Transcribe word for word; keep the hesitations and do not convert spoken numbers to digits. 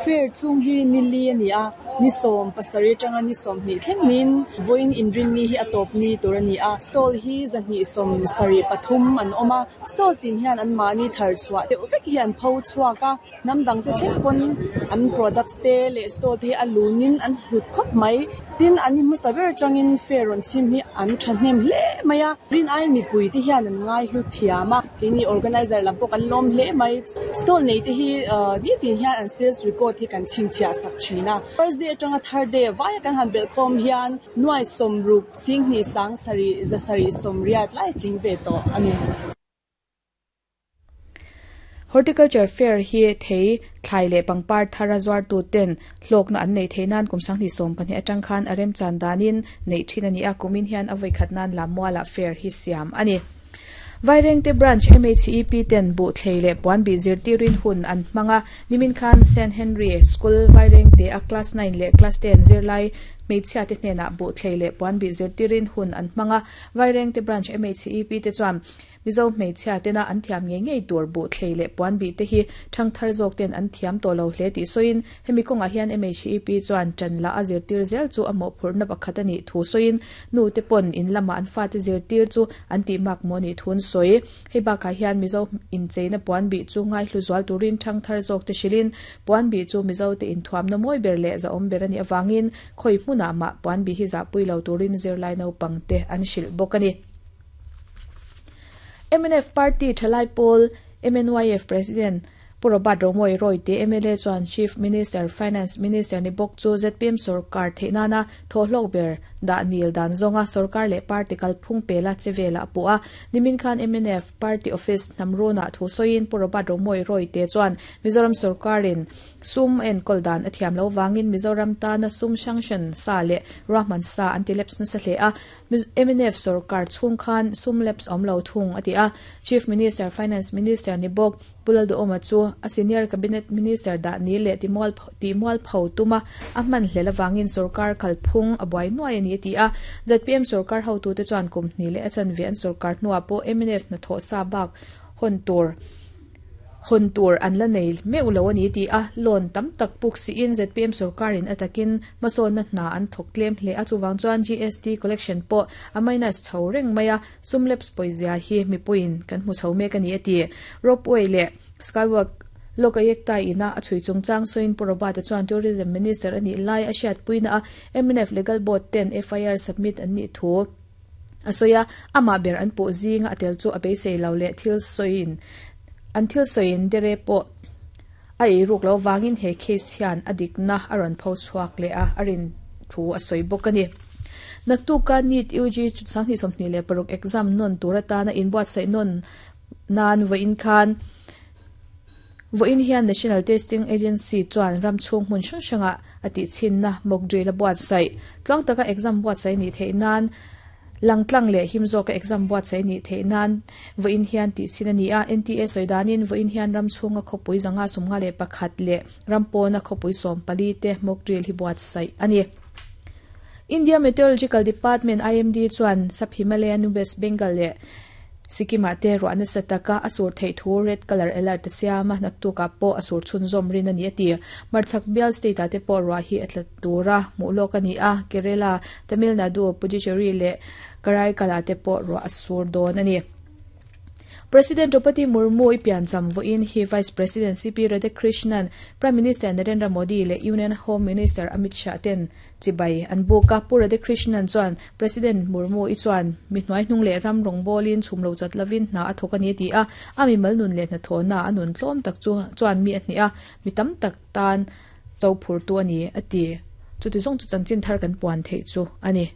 Fair chhung hi ni li ani a, ni sawm pasarih atanga ni sawmhnih thleng niin vawiin inrinni hi a tawp ni tur ani a. Stall hi zahnih sawm sarih pathum an awm a, stall tin hian an mahni thar chhuah deuh vek hi an pho chhuak a, hnam dang te thleng pawn an products te leh stall te hi a lunin an hlut khawp mai. Tin an ni hmasa ber atangin fair rawn chhim hi an thahnem hle mai a, rin aiin mipui te hian an ngai hlu thiam a, keini organizer lam pawh kan lawm hle mai. Stall nei te hi ahh nitin hian an sales record hi kan chhinchhiah sak thin a. First day atanga third day vaia kan han belh khawm hian nuai sawmruk singhnih sang sarih za sarih sawmriat lai tling ve tawh ani. Horticulture Fair hi thei thlai leh pangpar thara zuar tu ten hlawkna an nei thei nan kum sanghnih sawm pahnih atang khan a remchan danin nei thin ani a, kumin hian a vawi khat nan Lammuala fair hi siam ani. Vairengte Branch M H E P ten bu thlei leh puan bi zirtirin hun an hmanga nimin khan Saint Henry School Vairengte a class nine leh class ten zirlai hmeichhia te hnenah bu thlei leh puan bi zirtirin hun an hmanga Vairengte Branch M H E P te chuan Mizo hmeichhia tena an thiam nge ngei tur bu thlei leh puan bi te hi thang thar zawk ten an thiam tawh lo hle tih sawiin hemi kawngah hian M H E P chuan tan la a zirtir zel chu a mawhphurhna pakhat ani thu sawiin nu te pawn in lama an fa te zirtir chu an tih mak maw ni thun sawi hei bakah hian Mizo incheina puan bi chu ngai hlu zual turin thang thar zawk te hrilin puan bi chu Mizo te inthuamna mawi ber leh za awm ber ani awangin khawi hmunah mah puan bi hi zahpui lo turin zirlai naupang te an hrilh bawk ani. M N F Party Thalai Pawl M N Y F President Pu Robert Romawia Royte M L A chuan Chief Minister Finance Minister ni bawk chu Z P M sarkar theihnana thawhlawk ber dah nil dan zawnga sarkar leh party kalphung pela chevela a pu a. Nimin khan M N F Party Office hnamruna thu sawiin Pu Robert Romawia Royte chuan Mizoram sarkarin sum enkawl dan a thiam lo wangin Mizoram tana sum sanction sa leh ruahman sa anti-lapse nasa hle a. M N F sarkar chhung khan sum lapse awm lo thung a ti a. Chief Minister Finance Minister ni bawk Pu Lalduhoma chu a senior cabinet minister dah ni leh timual timual pho tuma a hman hlel awangin sarkar khalphung a buai nuai ani a ti a. Z P M sarkar ho tu te chuan kum hnih leh a chanve an sarkar hnuah pawh M N F hna thawh sa bak hawn tur hawn tur an la nei meuh lo ani ti a. Loan tam tak puk siin Z P M sarkarin atakin hmasawnna hna an thawk tlem hle a, chuwang chuan G S T collection pawh a minus chho reng mai a, sum lapse pawizia hi mipuiin kan hmu chho mek ani a ti. Ropeway leh skywalk Lokayukta ina a chui chungchang sawiin Pu Robert chuan Tourism Minister ani lai a hriat puina a M N F Legal Board ten F I R submit an nih thu a sawi a, amah ber an pawh zinga a tel chu a beisei lo leh thil sawiin an thil sawiin dere pawh a eiruk lo wangin he case hian a dikna a rawn pho chhuak leh a a rin thu a sawi bawk ani. Naktuka NEET U G sanghnih sawmhnih leh paruk exam non tur atana inbuatsaih non nan vawiin khan vawiin hian National Testing Agency chuan ram chhung hmun hrang hranga a tih chhinna mock drill a buatsaih. Tluang taka exam buatsaih ni theih nan langtlang leh him zawka exam buatsaih ni theih nan vawiin hian tih chhin ani a. N T A sawi danin vawiin hian ram chhunga khawpui zanga sawmnga leh pakhat leh ram pawna khawpui sawm pali te mock drill hi buatsaih ani. India Meteorological Department I M D chuan Sub Himalayan West Bengal leh Sikkim-ah te ruahna sataka a sur theih thu red color alert a siam a, naktuka pawh a sur chhunzawm rin ani a ti. Marchhak bial state ah te pawh ruah hi a tla tura hmuh lawk ani a. Kerala, Tamil Nadu, Puducherry leh Karaikal te pawh ruah a sur dawn ani. President Draupadi Murmu i piancham vawiin hi Vice President C P Radhakrishnan, Prime Minister Narendra Modi leh Union Home Minister Amit Shah ten chibai an buk a. Pu Radhakrishnan chuan President Murmu i chuan mi hnuai hnung leh ram rawng bawlin chhum lo chat lovin hna a thawk ani ti a, a mi mal nun leh hna thawhna a nun tlawm tak chu chuan mi a hnih a, mi tam tak tan cho phur tu ani a ti. Chuti zawng chu chanchin thar kan puan theih chu ani.